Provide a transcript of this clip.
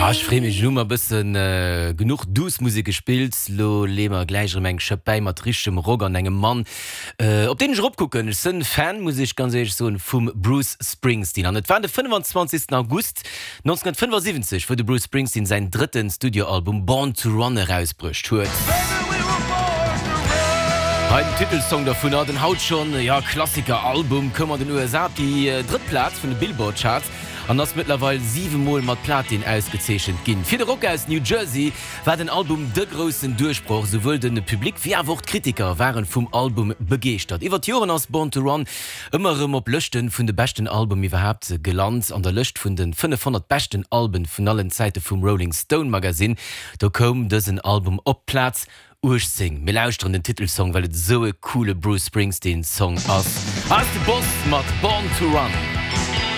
Ah, ech free mech, elo hu mer e bëssen genuch duuss Musek gespillt. Lo leeë mer gläich erëm eng Schëpp bäi mat richtegem Rock an engem Mann, op deen ech eropkucken. Ech sënn Fan, muss ech ganz éierlech soen, vum Bruce Springsteen. An et war de 25. August 1975, wou de Bruce Springsteen säin drëtten Studioalbum Born to Run erausbruecht huet. Hei den Titelsong dovunner, den haut schonn, jo, Klassiker-Album, koum an den USA op déi drëtt Plaz vun de Billboard-Charts an ass mëttlerweil 7 Mol mat Platin ausgezeechent ginn. Fir de Rocker aus New Jersey war den Album de groussen Duerchbroch, souwuel de Public wéi awer och d'Kritiker waren vum Album begeeschtert. Iwwer d'Joren ass Born to Run ëmmer erëm op Lëschte vun de beschten Album iwwerhaapt gelant. An der Lëscht vun de 500 beschten Alben vun allen Zäite vum Rolling Stone Magazine, do koum dësen Album op d'Plaz 18. Mir lauschteren den Titelsong, well et esou e coole Bruce Springsteen Song ass. Hei ass de Boss mat Born to Run.